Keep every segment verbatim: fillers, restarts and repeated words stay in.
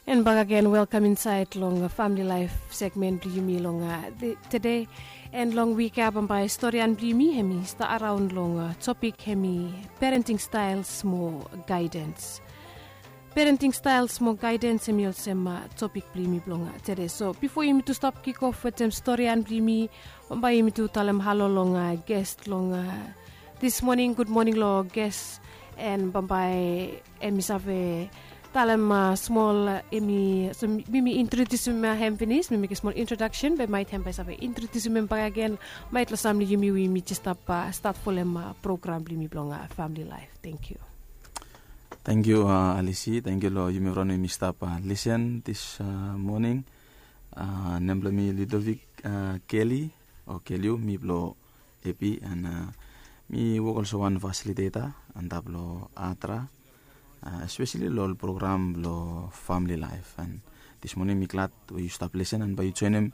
And bakagen, welkam insaed long famili laef segmen blong yumi long tede. And long wik ya bambae storian blong yumi hemi stap araon long topik hemi parenting staels mo gaedens. Parenting staels mo gaedens hemi olsem topik blong yumi blong tede. So bifo yumi tu stap kikof wetem storian blong yumi, bambae yumi tu talem halo long ges long dis moning. Gud moning long ges. And bambae hemi save talem smol, hemi so mi mi introdiusim hem finis, mi mekem smol introdaksen be maet hem bae save introdiusim hem bakagen. Maet long sam long yumi we yumi jes stap stat folem program blong yumi blong famili laef. Tangkiu. Tangkiu, Alisi. Tangkiu long yumi evriwan we yumi stap lisen dis moning. Nem blong mi Ludovic Kelly o Keliu, mi blong Epi, and mi wok olsem wan fasiliteta antap long Atra, espeseli long ol program blong famili laef. And dis moning mi glad we yu stap lisen and bae yu joenem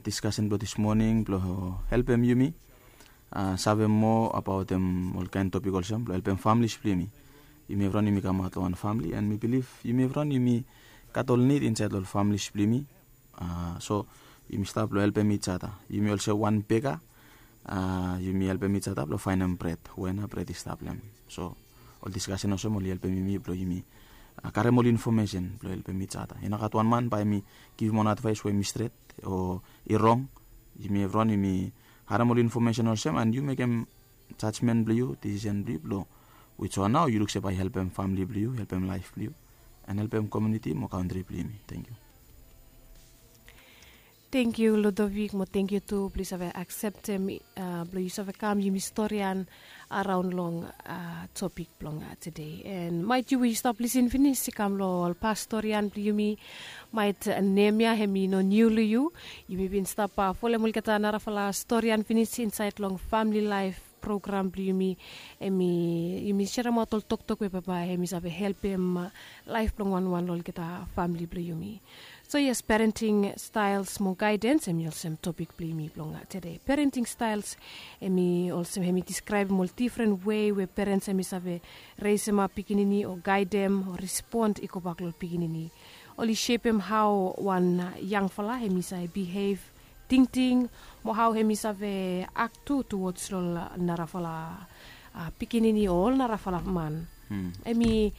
diskasen blong dis moning blong helpem yumi save moa abaotem ol kaen topik olsem blong helpem familis blong yumi. Yumi evriwan yumi kamaot long wan famili, and mi bilif yumi evriwan yumi gat ol nid insaed long ol familis blong yumi. So yumi stap long helpem ijata. Yumi olsem wan beka, yumi helpem ijata blong faenem bred we nao bred i stap long hem. So ol diskasen olsem oli helpem yumi blong yumi karem ol infomesen blong helpem ijata. I no gat wan man bae hemi givim wan advaes we hemi stret o i rong. Yumi evriwan yumi harem ol infomesen olsem, and yu mekem jajmen blong yu, disisen blong yu blong wijwan nao yu luk se bae i helpem famili blong yu, helpem laef blong yu, and helpem komuniti mo kantri blong yumi. Tangkiu. Tangkiu Ludovic, mo tangkiu tu blong yu save akseptem blong yu save kam yumi storian araon long topik blong tede. And maet yu we yu stap lisen finis i kam long ol pas storian blong yumi, maet nem ya hemi no niu long yu. Yumi bin stap folem olgeta narafala storian finis insaed long famili laef program blong yumi. Hemi yumi seremaot ol toktok we bambae hemi save helpem laef blong wanwan long olgeta famili blong yumi. So yes, parenting staels mo gaedens hemi olsem topik blong yumi blong tede. Parenting staels hemi olsem hemi diskraebem ol difren wei we perens hemi save resemap pikinini o gaedem o respon i gobak long ol pikinini. Oli sepem hao wan yangfala hemi save bihev, tingting, mo hao hemi save ak tu tuwods long narafala pikinini o ol narafala man. Hemi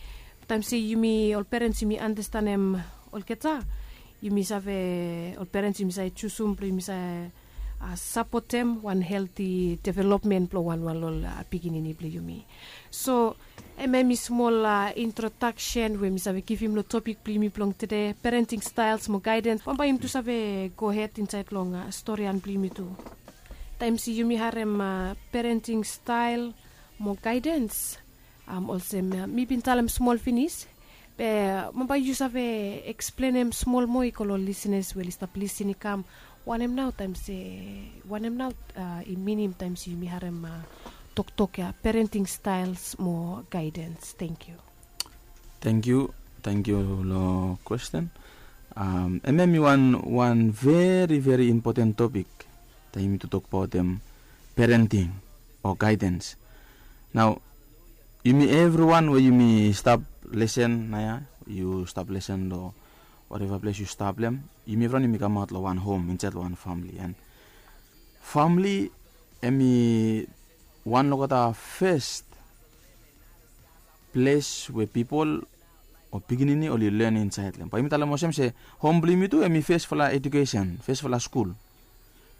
taem se yumi ol perens yumi andastanem olgeta, yumi save, ol perens yumi save jusum blong yumi save sapotem wan helti developmen blong wanwan long ol pikinini blong yumi. So hemia hemi smol introdaksen we mi save givim long topik blong yumi blong tede, parenting staels mo gaedens. Bambae yumi tu save gohed insaed long storian blong yumi tu. Taem se yumi harem parenting stael mo gaedens, olsem mi bin talem smol finis, be bambae yu save eksplenem smol moa i go long lisenas we oli stap lisen i kam, wanem nao taem se, wanem nao i minim taem se yumi harem toktok ya, parenting staels mo gaedens. Tangkiu. Tangkiu. Tangkiu long kwesten. Hemia hemi wan wan veri veri impoten topik taem yumi tu tokbaotem parenting o gaedens. Nao yumi evriwan we yumi stap lisen naoia, yu stap lisen long wateva ples yu stap long hem, yumi evriwan yumi kamaot long wan hom insaed long wan famili. And famili hemi wan long olgeta fes ples we pipol o pikinini oli len insaed long hem. Bae yumi talem olsem se hom blong yumi tu hemi fesfala ejukesen, fesfala skul.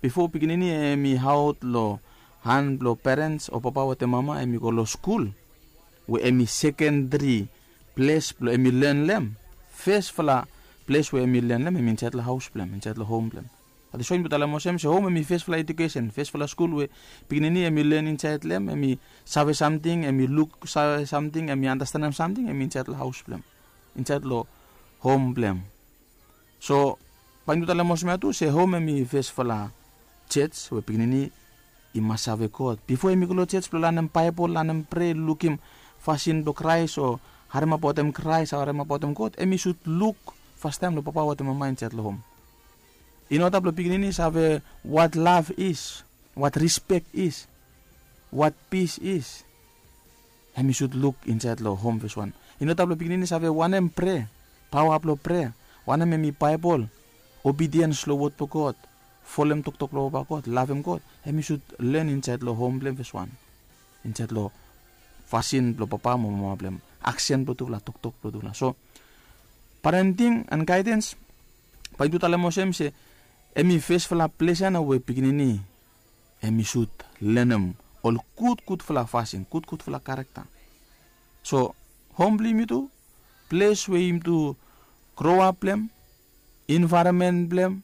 Bifo pikinini hemi aot long han blong perens o papa wetem mama, hemi go long skul we hemi sekendri ples blong hemi len long hem. Fesfala ples we hemi len long hem hemi insaed long haos blong hem, insaed long hom blong hem. That is why yumi talem olsem se hom hemi fesfala ejukesen, fesfala skul we pikinini hemi len insaed long hem, hemi save samting, hemi luksave samting, hemi andastanem samting, hemi insaed long haos blong hem, insaed long hom blong hem. So bae yumi tu talem olsem ya tu se hom hemi fesfala jos we pikinini i mas save God. Bifo hemi go long jos blong lanem Baebol, lanem prea, lukim fasin blong Kraes o harem abaotem Kraes, harem abaotem God, hemi sud luk fastaem long papa wetem mama insaed long hom. I no stap long pikinini save what love is, what respect is, what peace is. Hemi sud luk insaed long hom fes wan. I no stap long pikinini save wanem prea. Paoa blong prea, wanem em i Baebol, obidiens long wod blong God, folem toktok blong Papa God, lavem God, em i sud len insaed long hom blong em fes wan. Insaed long fasin blong papa mo mama blong em, aksen blong tufala, toktok blong tufala. So parenting and gaedens, bae yumi tu talem olsem se em i fesfala ples ya nao we pikinini em i sud lenem ol gudgudfala fasin, gudgudfala karekta. So hom blong yumi tu, ples we yumi tu groap blong em, envaeronmen blong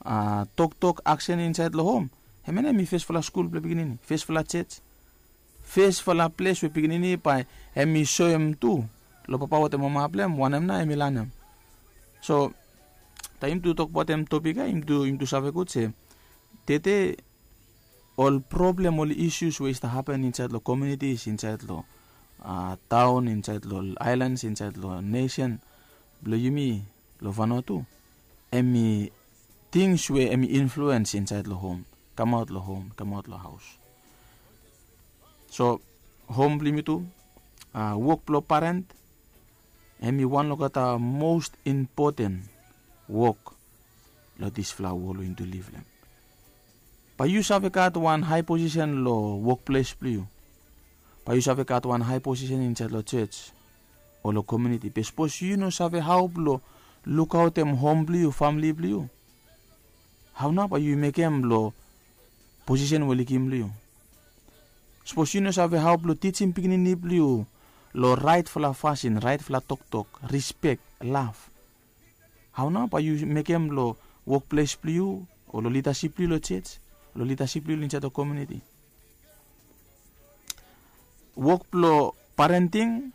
em, toktok, aksen insaed long hom, hemia nao em i fesfala skul blong pikinini, fesfala jos, fesfala ples we pikinini bae em i soem tu long papa wetem mama blong em wanem nao em i lanem. So taem yumi tu tokbaot em topik ya, yumi tu save gud se tede ol problem, ol isus we i stap hapen insaed long komunitis, insaed long taon, insaed long aelans, insaed long nesen blong yumi long Vanuatu, em i tings we em i influens insaed long hom, kamaot long hom, kamaot long haos. So hom blong yumi tu, wok blong parent, em i wan long olgeta most impoten wok long disfala wol we yumi tu liv long em. Bae yu save gat wan hae posisen long wokples blong yu. Bae yu save gat wan hae posisen insaed long jos o long komuniti. Be sapos yu no save hao blong lukaotem hom blong yu, famili blong yu, hao nao bae yu mekem long posisen we oli givim long yu? Sapos yu no save hao blong tijim pikinini blong yu long raetfala fasin, raetfala toktok, rispek, lav, hao nao bae yu mekem long wokples blong yu o long lidasip blong yu long jos, long lidasip blong yu insaed long komuniti? Wok blong parenting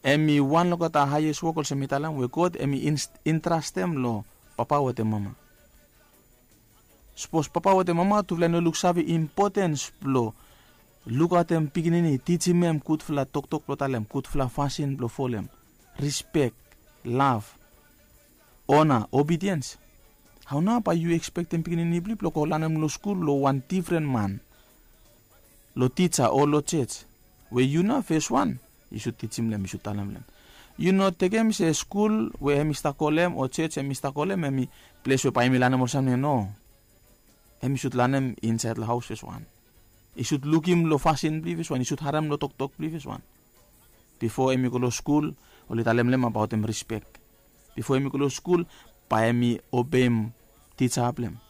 em i wan long olgeta haes wok, olsem mi talem, we God em i intrastem long papa wetem mama. Sapos papa wetem mama tufala i no luksave impotens blong lukaotem pikinini, tijim hem gudfala toktok blong talem, gudfala fasin blong folem, rispek, lav, ona, obidiens, hao nao bae yu ekspektem pikinini blong yu blong go lanem long skul long wan difren man, long tija o long jos, we yu nao fes wan yu sud tijim long hem, yu sud talem long hem? Yu no tekem se skul we hem i stap go long hem o jos hem i stap go long hem em i ples we bae hem i lanem ol samting. No. Hem i sud lanem insaed long haos fes wan. I sud lukim long fasin blong yu fes wan, i sud harem long toktok blong yu fes wan. Bifo hem i go long skul, oli talem long hem abaotem rispek. Bifo hem i go long skul, bae hem i obeim tija blong hem.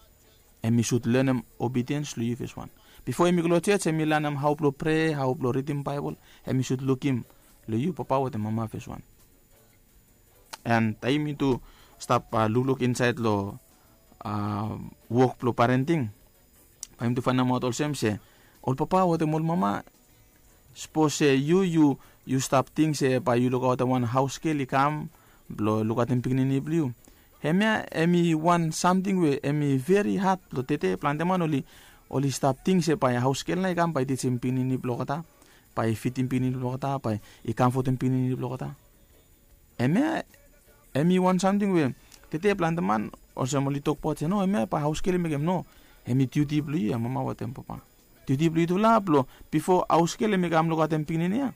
Hem i sud lenem obidiens long yu fes wan. Bifo hem i go long jos hem i lanem hao blong prea, hao blong ridim Baebol. Hem i sud lukim long yu papa wetem mama fes wan. An taem yumi tu stap lukluk insaed long wok blong parenting, bae yumi tu faenemaot olsem se ol papa wetem ol mama, sapos se yu yu yu stap ting se bae yu lukaotem wan haos gel i kam blong lukaotem pikinini blong yu, hemia hem i wan samting we hem i veri had blong tede. Plante man oli oli stap ting se bae haos gel nao i kam bae i tijim pikinini blong olgeta, bae i fidim pikinini blong olgeta, bae i kamfotem pikinini blong olgeta. Hemia hem i wan samting we tede plante man olsem oli tokbaot se no, hemia bae haos gel i mekem. No. Hem i diuti blong yu ya mama wetem papa. Diuti blong yutufala blong bifo haos gel hem i kam lukaotem pikinini ya,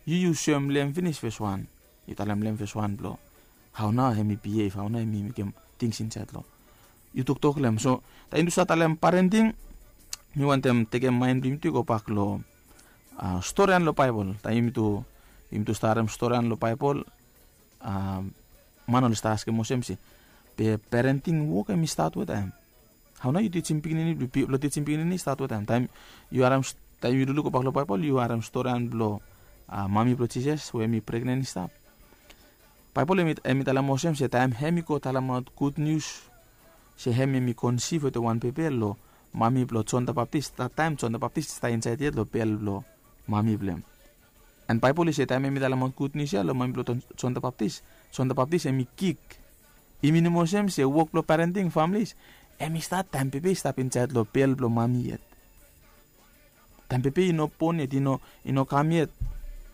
yu yu soem long hem finis fes wan. Yu talem long hem fes wan blong hao nao hem i bihev, hao nao hem i mekem tings insaed long, yu toktok long hem. So taem yumi tu stap talem parenting, mi wantem tekem maen blong yumi tu i gobak long storian long Baebol. Taem yumi tu yumi tu stap harem storian long Baebol, man oli stap askem olsem se, be parenting wok hem i stat wetaem? Hao nao yu tijim pikinini blong yu, blong tijim pikinini i stat wetaem? Taem yu harem, taem yu lukluk gobak long Baebol yu harem storian blong mami blong Jisas we hem i pregnen i stap. Baebol hem i talem olsem se taem hem i go talemaot gud nius se hem hem i konsiv wetem wan bebe long mami blong Jon the Baptis. Taem Jon the Baptis i stap insaed yet long bel blong mami blong hem. An Baebol i se taem hem i talemaot gud nius ya long mami blong Jon the Baptis, Jon the Baptis hem i kik. I minim olsem se wok blong parenting, familis, hem i stat taem bebe i stap insaed long bel blong mami yet. Taem bebe i no bon yet, i no i no kam yet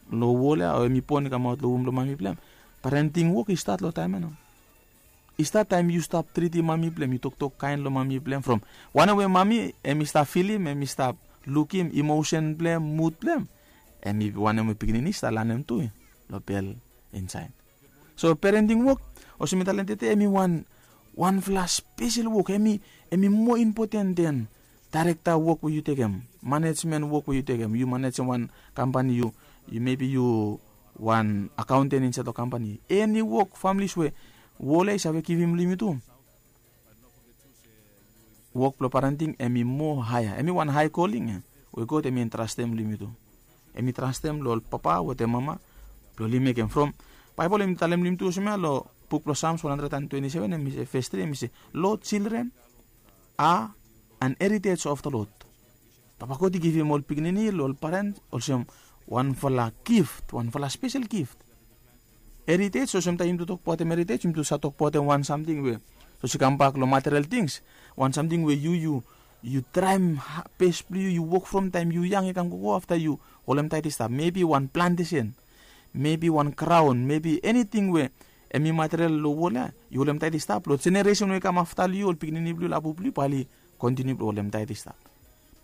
long wol ya, o hem i bon i kamaot long wom blong mami blong hem, parenting wok i stat long taem ya nao. I stat taem yu stap tritim mami blong hem, yu toktok kaen long mami blong hem, from wanem we mami hem i stap filim, hem i stap lukim, imosen blong hem, mud blong hem, hem i wanem we pikinini i stap lanem tu long bel insaed. So parenting wok, olsem mi talem tede, em i wan wanfala spesel wok. Em i em i moa impoten den daerekta wok we yu tekem, manejmen wok we yu tekem. Yu manejem wan kampani, yu yu mebi yu wan akaonten insaed long kampani. Eni wok, familis we wol ya i save givim long yumi tu, wok blong parenting em i moa haea. Em i wan hae koling ya we God em i entrastem long yumi tu. Em i trastem long ol papa wetem mama blong oli mekem. From Baebol em i talem long yumi tu olsem ya, long buk blong Psalms one hundred and twenty-seven, em i se, ves tri, em i se, "Lord, children are an heritage of the Lord." Papa God i givim ol pikinini long ol parens olsem wanfala gift, wanfala spesel gift. Heritage, olsem taem yumi tu tokbaotem heritage, yumi tu save tokbaotem wan samting we sapos i kambak long material tings, wan samting we yu yu yu traem bes blong yu, yu wok from taem yu yang i kam gogo, afta yu holemtaet i stap. Mebi wan plantesen, mebi wan graon, mebi eniting we em i material long wol ya, yu holemtaet i stap. Long jeneresen we i kam afta long yu, ol pikinini blong yu, lapu blong yu, bae oli kontiniu blong holemtaet i stap.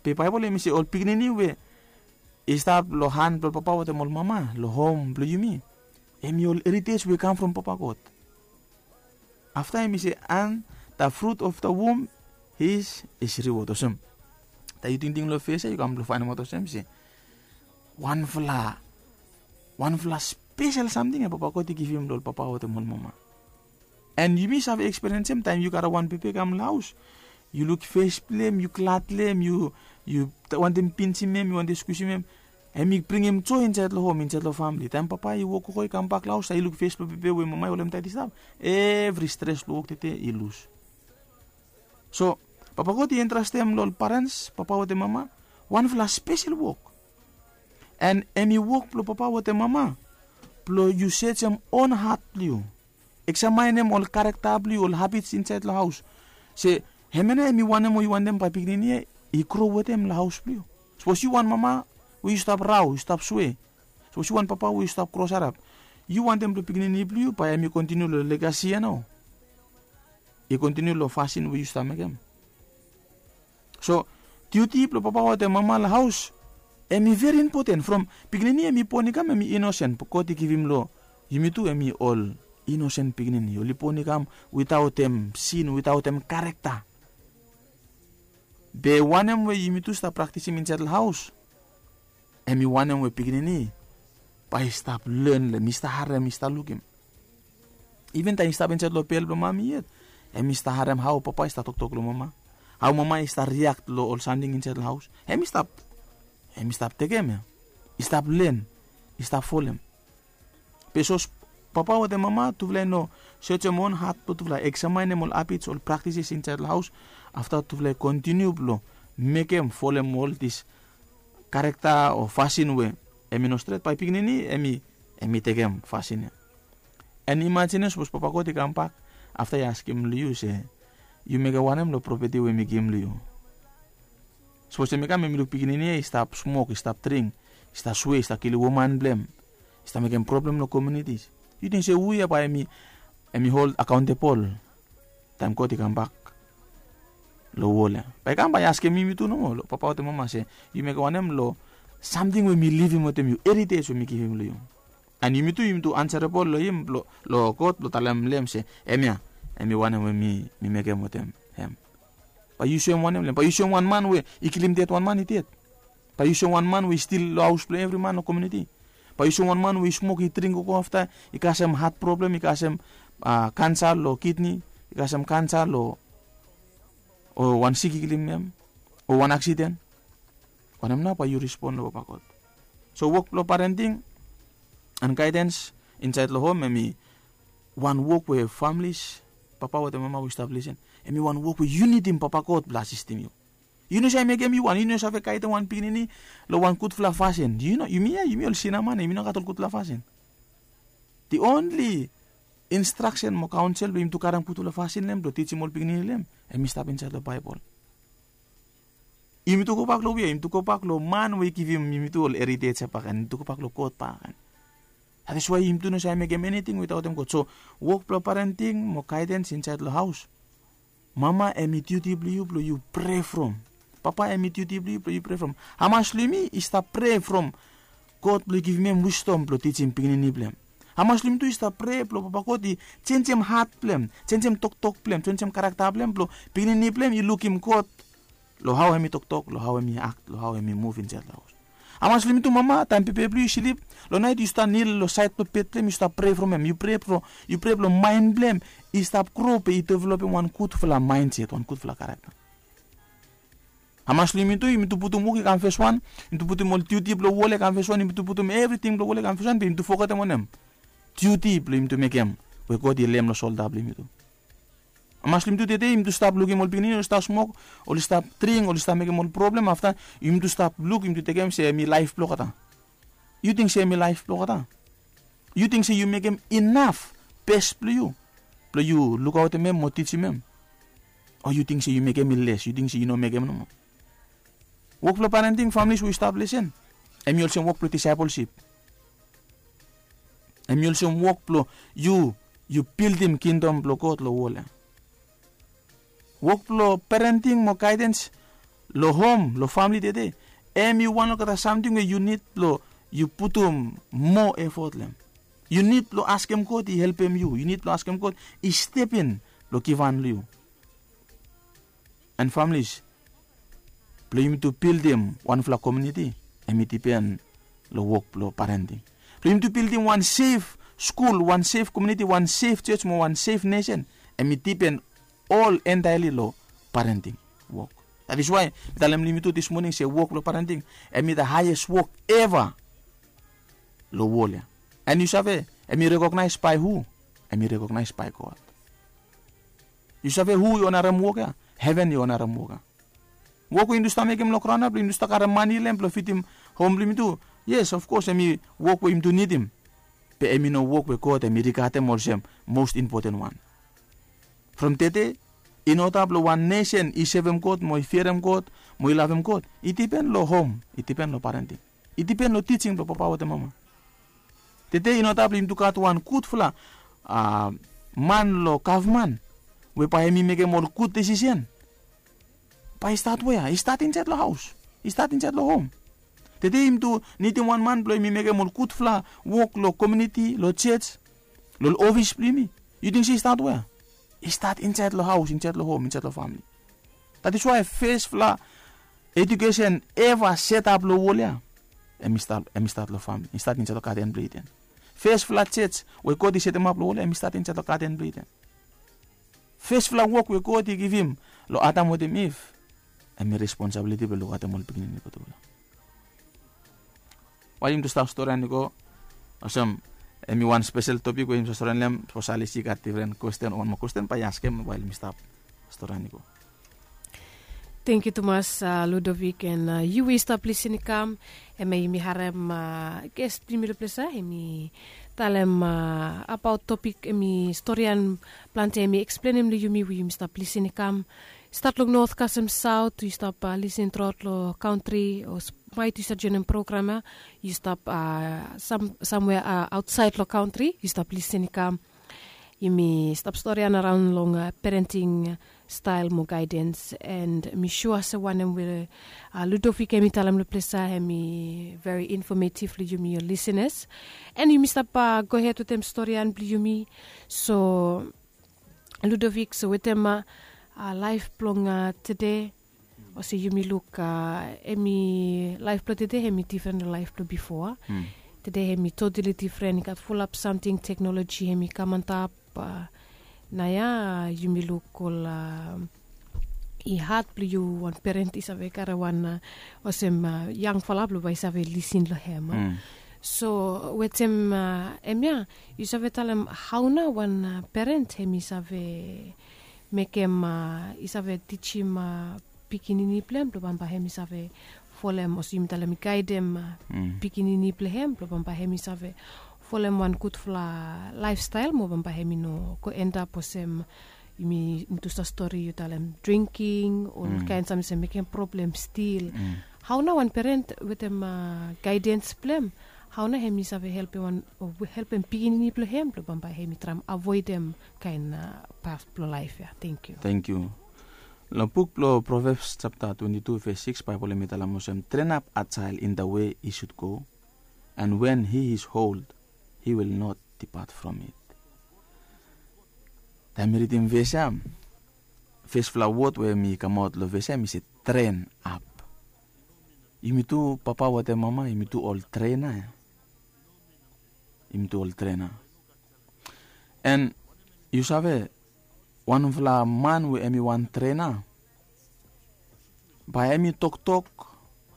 Be Baebol em i se ol pikinini we i stap long han blong ol papa wetem ol mama long hom blong yumi, em i ol heritage we i kam from Papa God. Afta em i se, "And the fruit of the womb is his reward." Olsem, taem yu tingting long ves ya, yu kam blong faenemaot olsem se wanfala, wanfala spesel samting ya Papa God i givim long ol papa wetem ol mama. And yumi save ekspiriensem taem yu karem wan bebe i kam long haos, yu luk ves blong hem, yu glad long hem, yu yu wantem pinjem hem, yu wantem skusim hem. Hem i bringim joe insaed long hom, insaed long famili. Taem papa i wok gogo i kambak long haos, taem i luk ves blong bebe we mama i holemtaet i stap, evri stres blong wok tede i lus. So Papa God i entrastem long ol parens, papa wetem mama, wanfala spesel wok. And hem i wok blong papa wetem mama blong yu sejem on hat blong yu, eksamaenem ol karekta blong yu, ol habits insaed long haos. Se hemia nao hem i wanem we yu wantem bae pikinini ya i gro wetem long haos blong yu. Sapos yu wan mama we yu stap rao, yu stap swe, sapos yu wan papa we yu stap krosarap, yu wantem blong pikinini blong yu bae hem i kontiniu long legasi ya nao, i kontiniu long fasin we yu stap mekem. So diuti blong papa wetem mama long haos, hem i veri impoten. From pikinini hem i bon i kam, hem i inosen, be God i givim long yumi tu hem i ol inosen pikinini. Oli bon i kam witaotem sin, witaotem karekta. Be wanem we yumi tu stap praktisim insaed long haos, hem i wanem we pikinini bae i stap len long hem, i stap harem, i stap lukim. Iven taem i stap insaed long bel blong mami yet, hem i stap harem hao papa i stap toktok long mama, hao mama i stap riak long ol samting insaed long haos. Hem i stap, hem i stap tekem ya, i stap len, i stap folem. Be sapos papa wetem mama tufala i no sejem on hat blong tufala, eksamaenem ol habits, ol praktises insaed long haos, afta tufala i kontiniu blong mekem, folem ol dis karekta o fasin we hem i no stret, bae pikinini hem i, hem i tekem fasin ya. And imajinim sapos Papa God i kambak afta i askem long yu se, yu mekem wanem long propeti we mi givim long yu? Sapos hem i kam, hem i luk pikinini ya i stap smok, i stap dring, i stap swe, i stap kilim woman blong hem, i stap mekem problem long komiuniti. Yu ting se hu ya bae hem i, hem i hold akaontebol taem God i kambak long wol ya? Bae i kam bae i askem yumi tu nomo, long papa wetem mama se, yu mekem wanem long samting we mi livim wetem yu, heritage we mi givim long yu? And yumi tu, yumi tu ansarabol long hem, long, long God, blong talem long hem se, hemia hem i wanem we mi, mi mekem wetem hem. Bae yu soem wanem long hem? Bae yu soem wan man we i kilim ded wan man i ded? Bae yu soem wan man we i stil long haos blong evri man long komiuniti? Bae yu soem wan man we i smok, i dring gogo, afta i kasem hat problem, i kasem, a, kansa long kidni, i kasem kansa long, o wan sik i kilim hem, o wan aksiden? Wanem nao bae yu rispon long Papa God? So wok blong parenting and gaedens insaed long hom, hem i wan wok we familis, papa wetem mama we yu stap lisen, hem i wan wok we yu nidim Papa God blong asistim yu. Yu no save mekem yu wan, yu no save gaedem wan pikinini long wan gudfala fasin. Yu no, yumi ya, yumi ol sina man ya, yumi no gat ol gudfala fasin. The only instraksen mo kaonsel we yumi tu karem gudfala fasin long hem blong tijim ol pikinini long hem, hem i stap insaed long Baebol. Yumi tu gobak long wia? Yumi tu gobak long man we i givim yumi tu ol heritage ya bakegen. Yumi tu gobak long God bakegen. That is why yumi tu no save mekem eniting witaotem God. So wok blong parenting mo gaedens insaed long haos, mama, hem i diuti blong yu blong yu prea from. Papa, hem i diuti blong yu blong yu prea from. Hamas long yumi i stap prea from God blong i givim hem wisdom blong tijim pikinini blong hem? Hamas long yumi tu i stap prea blong Papa God i jenjem hat blong hem, jenjem toktok blong hem, jenjem karakta blong hem blong pikinini blong hem i lukim God long hao hem i toktok, long hao hem i akt, long hao hem i muv insaed long haos. Hamas long yumi tu mama, taem pepe blong yu i slip long naet, yu stap nil long saed blong bed blong hem, yu stap prea from hem, yu prea blong, yu prea blong maen blong hem i stap gro be i developem wan gudfala maenset, wan gudfala karakta. Hamas long yumi tu, yumi tu putum wok i kam feswan, yumi tu putum ol diuti blong wol i kam feswan, yumi tu putum evriting blong wol i kam feswan be yumi tu fogetem wanem? Diuti blong yumi tu mekem we God i leem long solda blong yumi tu. Hamas long yumi tu tede yumi tu stap lukim ol pikinini oli stap smok, oli stap dring, oli stap mekem ol problem, afta yumi tu stap luk, yumi tu tekem se hem i laef blong olgeta. Yu ting se hem i laef blong olgeta? Yu ting se yu mekem inaf bes blong yu blong yu lukaotem hem mo tijim hem? O yu ting se yu mekem i les, yu ting se yu no mekem nomo? Wok blong parenting, familis we yu stap lisen, hem i olsem wok blong disaepolsip. Hem i olsem wok blong yu, yu bildim kingdom blong God long wol ya. Wok blong parenting mo gaedens long hom, long famili tede, hem i wan olgeta samting we yu nid blong yu putum moa efot long hem. Yu nid blong askem God i helpem yu, yu nid blong askem God i step in blong givhan long yu. And families, blong yumi tu bildim wanfala komuniti, hem i dipen long wok blong parenting. Blong yumi tu bildim wan sef skul, wan sef komuniti, wan sef jos mo wan sef nesen, hem i dipen ol entaeli long parenting wok. That is why mi talem long yumi tu dis moning se wok blong parenting hem i the highest wok eva long wol ya. And yu save, hem i rekognaes bae hu? Hem i rekognaes bae God. Yu save hu i onarem wok ya? Heven i onarem wok ya. Wok we yumi tu stap mekem long graon ya blong yumi tu stap karem mane long hem blong fidim hom blong yumi tu, yes, of kos hem i wok we yumi tu nidim. Be hem i no wok we God hem i rigadem olsem most important wan. From tede, in oda blong wan nesen i sevem God mo i fiarem God mo i lavem God, i dipen long hom, i dipen long parenting, i dipen long tijing blong papa wetem mama. Tede i no tap long yumi tu gat wan gudfala man long gavman we bae hem i mekem ol gud desisen. Bae i stat wea? I stat insaed long haos, i stat insaed long hom. Tede yumi tu nidim wan man blong hem i mekem ol gudfala wok long komiuniti, long jos, long ol ofis blong yumi. Yu ting se i stat wea? I stat insaed long haos, insaed long hom, insaed long famili. That is why fesfala ejukesen eva setap long wol ya, hem i stat long famili, i stat insaed long gaden blong Iden. Fesfala jos we God i setemap long wol ya, hem i stat insaed long gaden blong Iden. Fesfala wok we God i givim long Adam wetem Iv, hem i responsabiliti blong lukaotem ol pikinini gudfala. Wael yumi tu stap storian i go, olsem, hem i wan spesel topik we yumi save storian long hem. Sapos Alice i gat difren kwesten o wan moa kwesten, bae i askem wael yumi stap storian i go. Tangkiu tumas, Ludovik, and yu we i stap lisin i kam. Hemia yumi harem ges blong yumi long ples ya, hem i talem abaot topik, hem i storian plante, hem i eksplenem long yumi we yumi stap lisin i kam. Stat long not kasem saot, yu stap lisin truaot long kantri, o maet yu stap joenem program ya, yu stap samwea aotsaed long kantri, yu stap lisin i kam. Yumi stap storian araon long parenting stael mo gaedens, and mi sua se wanem we Ludovik hem i talem long ples ya hem i veri infometiv long yumi, ol lisenas. And yumi stap gohed wetem storian blong yumi. So Ludovik, so wetem laef blong tede, olsem yumi luk, hem i, laef blong tede hem i difren long laef blong bifo. Tede hem i totali difren, i gat fulap samting, teknoloji hem i kam antap. Naoia yumi luk ol, i had blong yu wan peren i save karem wan, olsem, yangfala blong bae i save lisin long hem. So wetem hemia, yu save talem hao nao wan peren hem i save mekem, i save tijim pikinini blong hem blong bambae hem i save folem, olsem yumi talem, i gaedem pikinini blong hem blong bambae hem i save folem wan gudfala laefstael mo bambae hem i no go endap olsem yumi tu stap stori, yu talem dringking, olkaen samting, olsem mekem problem stil. Hao nao wan peren wetem gaedens blong hem, hao nao hem i save helpem wan, o helpem pikinini blong hem blong bambae hem i traem avoedem kaen pas blong laef ya? Tangkiu. Tangkiu. Long buk blong Proverbs japta twenti tu ves sikis, Baebol hem i talem olsem, "Train up a child in the way he should go, and when he is old, he will not depart from it. Taem mi ridim ves ya, fesfala wod we mi kamaot long ves ya mi se train up. Yumi tu papa wetem mama, yumi tu ol trena ya. Yumi tu ol trena. And yu save, wanfala man we em i wan trena, bae em i toktok,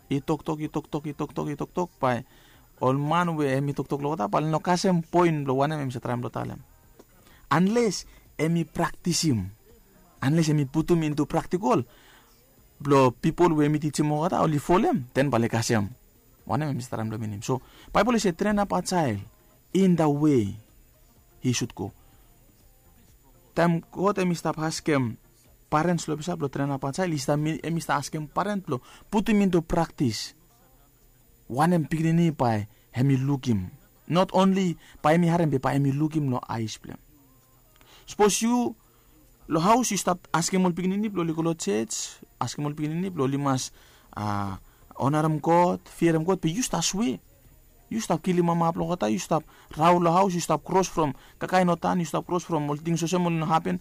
i toktok, i toktok, i toktok, i toktok, bae ol man we em i toktok long wota bae oli no kasem poen blong wanem em i save traem blong talem. Anles em i praktisim, anles em i putum intu praktikol blong pipol we em i tijim olgeta oli folem, den bae oli kasem wanem em i save traem blong minim. So Baebol i se train up a child in the way he should go. Taem God em i stap askem parents long ples ya blong train up a child, i stap mi- em i stap askem parent blong putum intu praktis wanem pikinini bae em i lukim. Not only bae em i harem be bae em i lukim long aes blong em. Sapos yu long haos yu stap askem ol pikinini blong oli go long jej, askem ol pikinini blong oli mas onarem God, fiarem God, be yu stap swe, yu stap kilim mama blong olgeta, yu stap raol long haos, yu stap kros from kakae no tan, yu stap kros from ol tings olsem oli no hapen.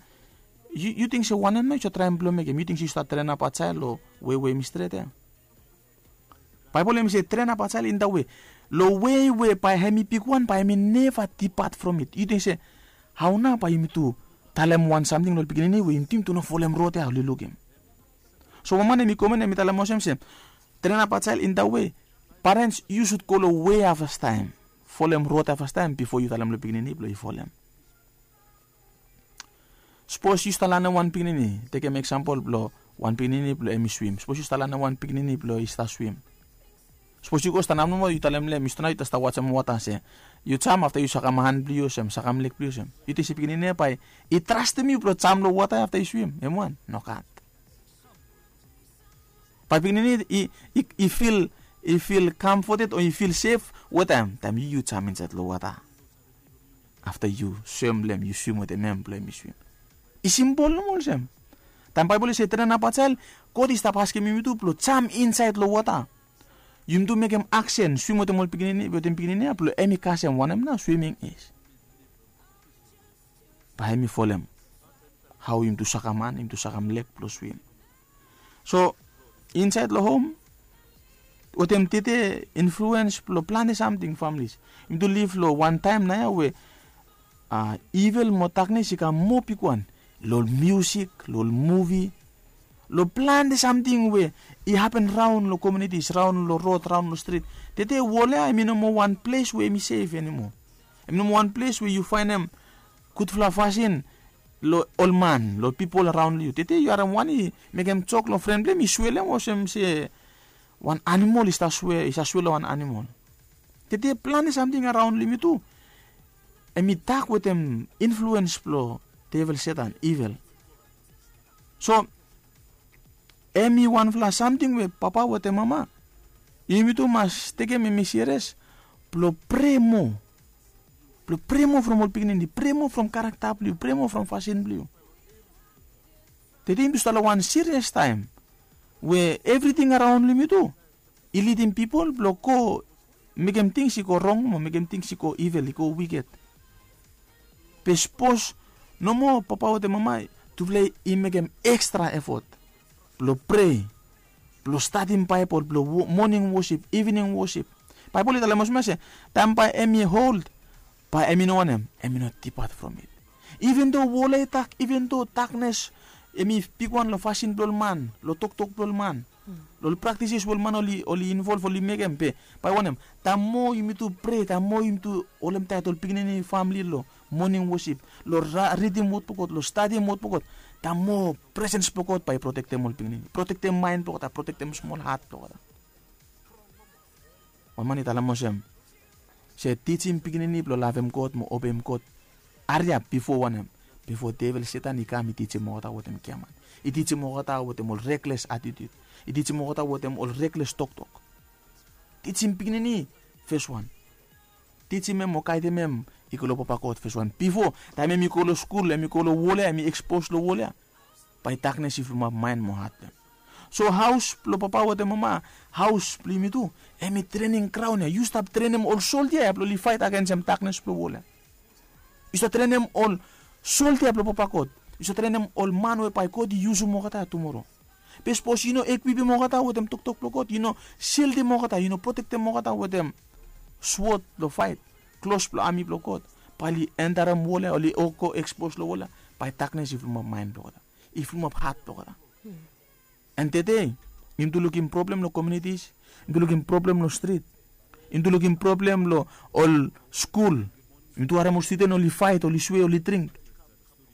Yu ting se wanem nao yu save traem blong mekem? Yu ting se yu stap traen ap achael long wei we em i stret ya? Baebol em i se traen ap achael in da wei, long wei we bae hem i bigwan bae hem i neva dipat from it. Yu ting se hao nao bae yumi tu talem wan samting long ol pikinini we yumi tu yumi tu no folem rod ya oli lukim? So wan man hem i komen hem i talem olsem se traen ap achael in da wei, parents yu sud go long wei ya fastaem, folem rod ya fastaem bifo yu talem long pikinini blong yu folem. Sapos yu stap lanem wan pikinini, tekem eksampol blong wan pikinini blong hem i swim. Sapos yu stap lanem wan pikinini blong i stap swim. Sapos yu go stap nap nomo yu talem long hem yu stap nao yu stap wajem wota se yu jam afta yu sakam han blong yu olsem, sakam leg blong yu olsem. Yu ting se pikinini ya bae i trastem yu blong jam long wota ya afta yu swim? Hem wan nogat. Bae pikinini i fil, i fil kamfoted o i fil sef wetem taem yu yu jam insaed long wota. Afta yu swem long hem, yu swim wetem hem blong hem i swim. I simpol nomo olsem. Taem Baebol i se traen ap achael, God i stap askem yumi tu blong jam insaed long wota. Yumi tu mekem aksen, swim wetem ol pikinini, wetem pikinini ya blong hem i kasem wanem nao swiming is. Bae hem i folem hao yumi tu sakam han, yumi tu sakam leg blong swim. So insaed long hom wetem tede influens blong plante samting, familis. Yumi tu liv long wan taem nao ya we ivel mo daknes i kam moa bigwan long ol miusik, long ol muvi, long plante samting we i hapen raon long kominitis, raon long rod, raon long strit. Tede wol ya hem i no moa wan ples we hem i sef animo. Hem i no moa wan ples we yu faenem gudfala fasin long ol man, long pipol araon long yu. Tede yu harem wan i mekem jok long fren blong hem i swelem olsem se wan animol i stap swe, i stap swe long wan animol. Tede plante samting araon long yumi tu hem i dak wetem influens blong devel, Setan, ivel. So hem i wanfala samting we papa wetem mama yumi tu mas tekem hem i serias blong prea moa, blong prea moa from ol pikinini, prea moa from karakta blong yu, prea moa from fasin blong yu. Tede yumi tu stap long wan serias taem we evriting araon long yumi tu i lidim pipol blong go mekem tings i go rong mo mekem tings i go ivel, i go wiked. Be sapos nomo papa wetem mama tufala i mekem ekstra efot blong prea, blong stadim Baebol, blong moning wosip, ivening wosip. Baebol i talem olsem ya se taem bae hem i old bae hem i no wanem, hem i no dipat from it. Iven do wol ya i dak, iven do daknes hem i bigwan long fasin blong ol man, long toktok blong ol man, long ol praktises we ol man oli, oli involv, oli mekem, be bae wanem, taem moa yumi tu prea, taem moa yumi tu holemtaet ol pikinini, famili long moning wosip, long ridim wod blong God, long stadim wod blong God, taem moa presens blong God bae i protektem ol pikinini, protektem maen blong olgeta, protektem smol hat blong olgeta. Wan man i talem olsem se tijim pikinini blong lavem God mo obeim God hariap bifo wanem? Bifo devel, Setan, i kam i tijim olgeta wetem giaman, i tijim olgeta wetem ol rekles atitut, i tijim olgeta wetem ol rekles toktok. Tijim pikinini, fes wan. Tijim hem o gaedem hem i go long papa God, fes wan, bifo taem hem i go long skul, hem i go long wol ya, hem i ekspos long wol ya, bae daknes i filmap maen mo hat blong hem. So haos blong papa wetem mama, haos blong yumi tu, hem i trening graon ya. Yu stap trenem ol soldia ya blong oli faet agensem daknes blong wol ya. Yu save trenem ol soldia blong Papa God. Yu save trenem ol man we bae God i yusum olgeta tumora. Be sapos yu no ekwipim olgeta wetem toktok blong God, yu no sildim olgeta, yu no protektem olgeta wetem swod blong faet, klos blong ami blong God, bae oli entarem wol ya, oli go ekspos long wol ya, bae daknes i fulumap maen blong olgeta, i fulumap hat blong olgeta. An tede yumi tu lukim problem long komunitis, yumi tu lukim problem long strit, yumi tu lukim problem long ol skul. Yumi tu harem ol studen oli faet, oli swe, oli dring.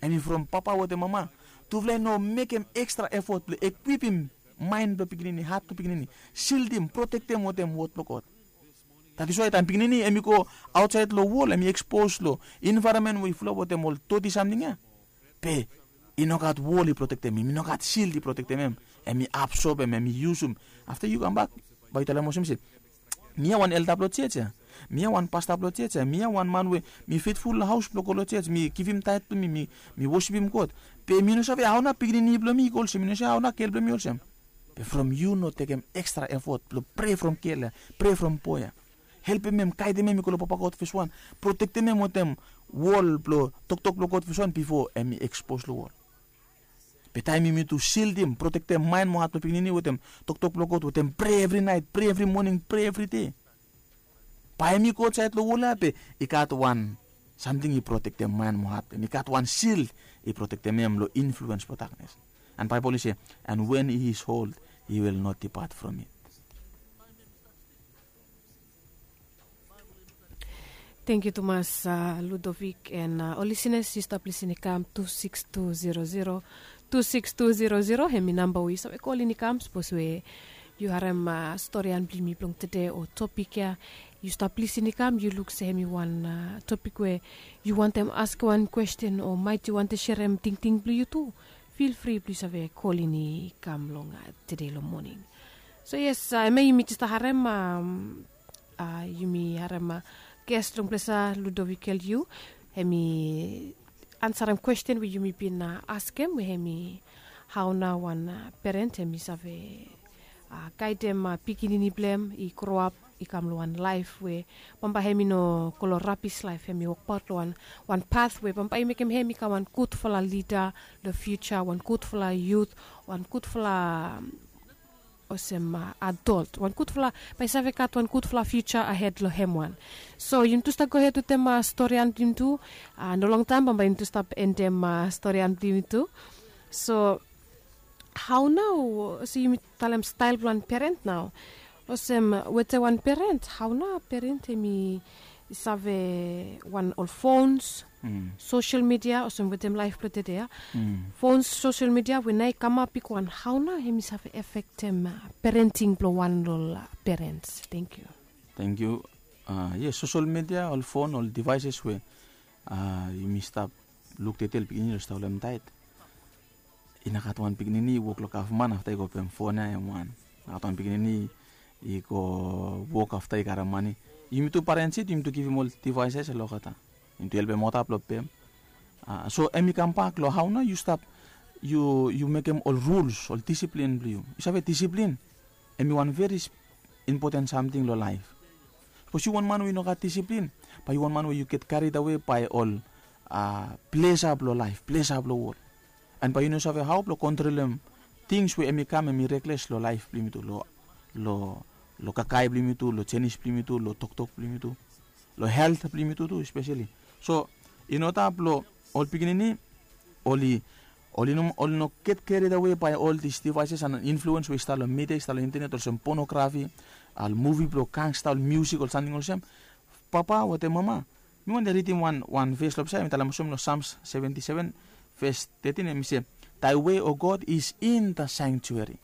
Hemi from papa wetem mama, tufala i no mekem ekstra efot blong ekwipim maen blong pikinini, hat blong pikinini, sildim, protektem wetem wod blong God. That is why taem pikinini hemi go aotsaed long wol, hemi ekspos long envaeronmen we i fulap wetem ol doti samting ya, be i no gat wol i protektem hem, i no gat sild i protektem hem. Hemi absob hem, hemi yusum. Afta yu kambak, bae yu talem olsem se, mi ya wan elda blong jos ya, mi ya wan pasta blong jos ya, mi ya wan man we mi fetful long haos blong go long jos, mi givim taet blong mi, mi, mi wosipim God. Be mi no save hao nao pikinini blong mi i go olsem, mi no save hao nao gel blong mi olsem. Be from yu no tekem ekstra efot blong prea from gel ya, prea from boe ya, helpem hem, gaedem hem i go long Papa God fes wan, protektem hem wetem wol blong toktok blong God fes wan bifo hemi ekspos long wol. Be taem yumi tu sildim, protektem maen mo hat blong pikinini wetem toktok blong God, wetem prea evri naet, prea evri moning, prea evri dei, bae hemi go aotsaed long wol ya be i gat wan samting i protektem maen mo hat blong hem, i gat wan sild i protektem hem long influens blong daknes. An Baebol i se, "And when he is old, he will not depart from it." Tangkiu tumas, uh, Ludovic, and, uh, ol lisenas, yu stap lisin i kam tu sikis tu zero zero, tu sikis tu zero zero, hemi namba we yu save kolin i kam sapos we yu harem, uh, storian blong yumi blong tede o topik ya. Yu stap lisin i kam, yu luk se hemi wan, uh, topik we yu wantem askem wan kwesten o maet yu wantem serem tingting blong yu tu, feel free blong yu save kolin i kam long, uh, tede long moning. So yes, uh, hemia yumi jes stap harem, um, uh, yumi harem, uh, ges long ples ya, Ludovic L U, hemi ansarem kwesten we yumi bin, uh, askem, we hemi hao nao wan, uh, peren hemi save, uh, gaedem, uh, pikinini blong hem i groap i kam long wan laef we bambae hemi no go long rabis laef, hemi wokbaot long wan, wan path we bambae i mekem hem i kam wan gudfala lida long fiuja, wan gudfala yut, wan gudfala, um, olsem, uh, adol, wan gudfala, bae i save gat wan gudfala fiuja ahed long hem wan. So yumi tu stap gohed wetem, uh, storian blong yumi tu, uh, no longtaem bambae yumi tu stap endem, uh, storian blong yumi tu. So hao nao, olsem yumi talem stael blong wan peren nao. Olsem wetem wan peren, hao nao peren hemi save wan ol fons, sosel midia, olsem wetem laef blong tede ya. Fons, sosel midia, we nao i kamap bigwan, hao nao hemi save afektem, uh, parenting blong wan long ol, uh, perens? Tangkiu. Tangkiu. Uh, yes, sosel midia, ol fon, ol devaeses we, uh, yumi stap luk tede, ol pikinini oli stap holem taet. I no gat wan pikinini i wok long gavman afta i go pem fon ya hem wan. I no gat wan pikinini i go wok afta i karem mane. Yumi tu parens yet, yumi tu givim ol devaeses long olgeta. Yumi tu helpem olgeta blong pem. Uh, so hemi kambak long hao nao yu stap, yu, yu mekem ol ruls, ol disiplin blong yu. Yu save disiplin hemi wan veri impoten samting long laef. Sapos yu wan man we yu no gat disiplin, bae yu wan man we yu get karied awe bae ol, uh, plesa blong laef, plesa blong wol. An bae yu no save hao blong kontrolem tings we hemi kam, hemi rekles long laef blong yumi tu, long, long, long kakae blong yumi tu, long jenis blong yumi tu, long toktok blong yumi tu, long helt blong yumi tu tu espeseli. So in oda blong ol pikinini oli, oli no, oli no get karied awe bae ol dis devaeses an influens we i stap long midia, i stap long intenet, olsem ponografi, ol muvi blong gangsta, ol musik, ol samting olsem. Papa wetem mama, mi wantem ridim wan, wan ves long ples ya, hemi talem olsem long Psalms seventy-seven, ves thirteen, hemi se, "Thy way, O God, is in the sanctuary."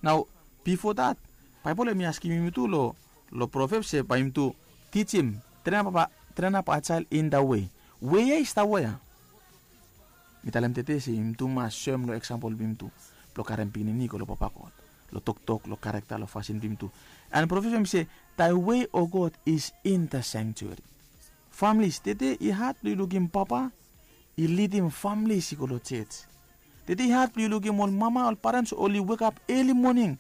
Nao bifo that, Baebol hemi askem yumi tu long, long Proverbs se bae yumi tu tijim, "Train up a, train up a child in the way." We ya i stap wea? Mi talem tede se yumi tu mas soem long eksampol blong yumi tu, blong karem pikinini i go long Papa God, long toktok, long karakta, long fasin blong yumi tu. An Proverbs hemi se, "Thy way, O God, is in the sanctuary." Familis, tede i had blong yu lukim papa i lidim familis i go long jos. Tede i had blong yu lukim ol mama, ol parens oli wekap eli moning,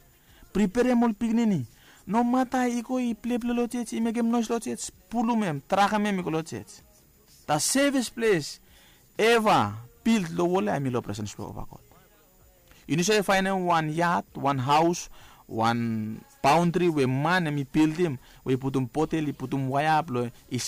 preperem ol pikinini. Nomata i go i pleple long jos, i mekem noes long jos, pulum hem, drakem hem i go long jos. The safest place ever build lo wol ya hemi lo presence blong Papa God. Yu no save faenem wan yad, wan haos, wan baondri we man hemi bildim, we i putum botel, i putum waea blong i